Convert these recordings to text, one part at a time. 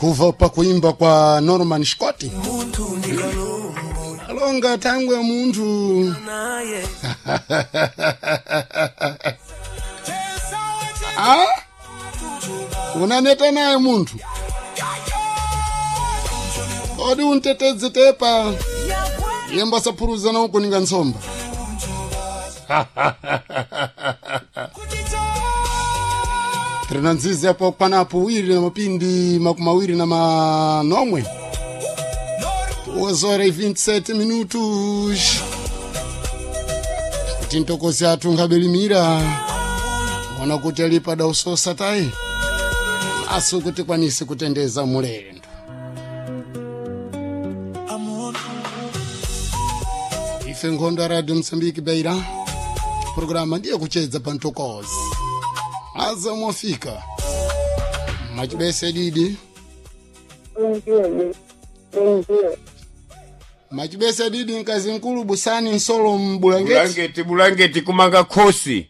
Kuva pa kuimba kwa Norman Scott alonga thangwe ya munthu. Ah? Unaneta naye munthu, kodi untetedze tepa yemba saphuruzana ukuninga ntsomba. Tiri nzizi apo panapo wiri na mapindi 29, 2 horas e 27 minutos. Kuti ntokosi athu ngabelimira ona kuti alipa dausosa tayi asu kuti kwanise kutendeza mulendo. Ife nkhondo ya Radio Msambiki Beira, programa ndiye kuchedza pa ntokozi aza mwafika machibese didi. Ndiyo, ndiyo. Machibese didi, mkazi mkulu busani nsolo mbulangeti. Bulangeti, bulangeti kumanga khosi.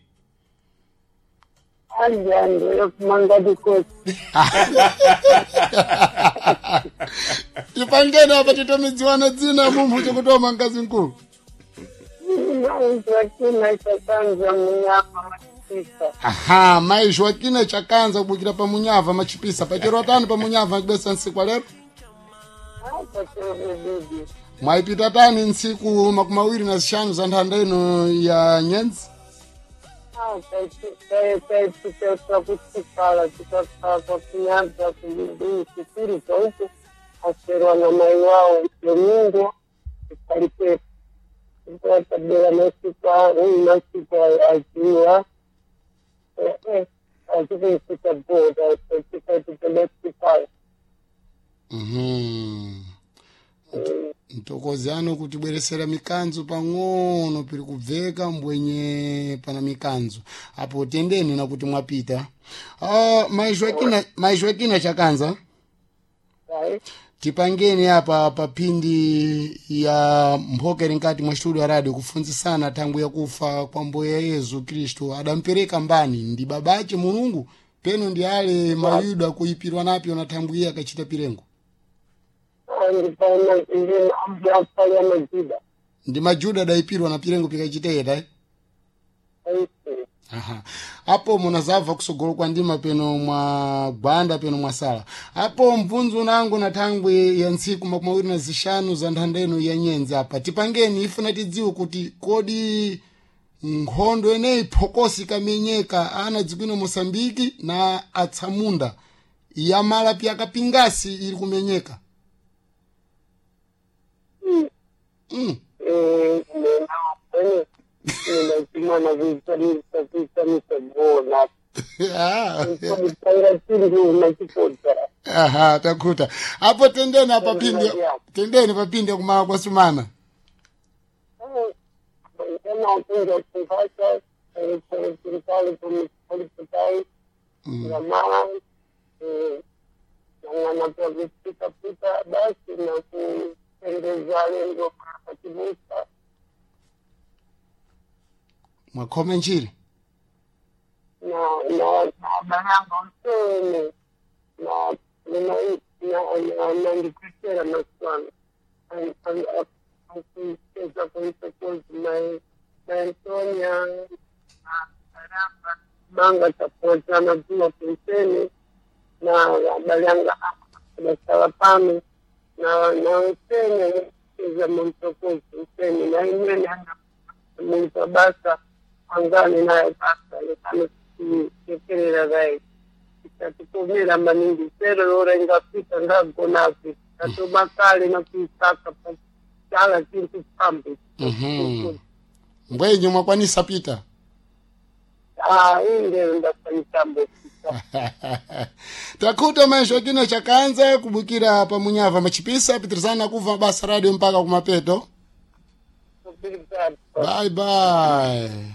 Anjani yokumanga dikosi. Tipangeni apa titomidziwana dzina mumphu chokutoma, mkazi mkulu. Maizvakina chakanza munyama machipisa. Aha, mai Joaquina chakanza kubukira pa munyava machipisa pachero tani pa munyava machibesa ntsiku lero. Pachero didi. Mwaipita tani ntsiku 25 za nthanda ino ya nyenzi? Taipita kuchikala tikakhala kwakunyanza kulibuu kupiriza uku aserwa na mai wao Domingo ikalipepo tabela masiku masiku aziwa achikuisika bhoda chikaititadachikala. Mhm. Mtokozi ano kutibweresera mikanzo pang'ono piri kubveka mbwenye pana mikanzo apo tendeni nakuti mwapita. Mai Joaquina chakanza, tipangeni apa papindi ya mphokeri nkati mwa studio ya radio kufunzisana thangwi yakufa kwa mbuye Yesu Kristu adampereka mbani, ndi babache Mulungu peno ndi ale mayuda kuipirwa napyo na thangwi iye akachita pirengo? Ndipaambiapali majuda. Ndi majuda adayipirwa na pirengo pikachiteta, eh? Aha. Apo munazabva kusogolo kwa ndima peno mwa gwanda peno mwasala apo mbvunzo nangu na thangwi ya ntsiku 25 za nthanda ino ya nyenzi apa tipangeni ifuna tidziwe kuti kodi nkhondo eneyi phokosi ikamenyeka ana dziko Mosambiki na atsamunda yamala pyakapingasi ili kumenyeka. Ndachimana kuisanisa gona. Ah. Paira chinduna chipodza. Aha, takhuta apo tendeni apa pindi, tendeni papinde kumala kwa sumana. Emakunja kumpasa serikali kumitai jamaa nang'ana pya kupitapita basi na kutendeza lengo kakibusa. Mwakhoma njiri. Na na bayango msene na na ndikuchera maswana akucheza kuisokozi mai Antonia Karamba manga tapotana pia kuisene na balyanga basala pano na usene cheza muntokozi usene na imene muntu basa angani naye basa lekano kuchekerera vai ikatikomera maningi sero lora ingafika ndagonapi katobakale nakuisaka pachala chintu pambe. Mbwenye mwakwanisa pita. Inde ndakwanisa pita. Takhuta maisho kino chakanza kubukira pa munyava machipisa pitirizana kuva basa radio mpaka kumapeto. Bye bye.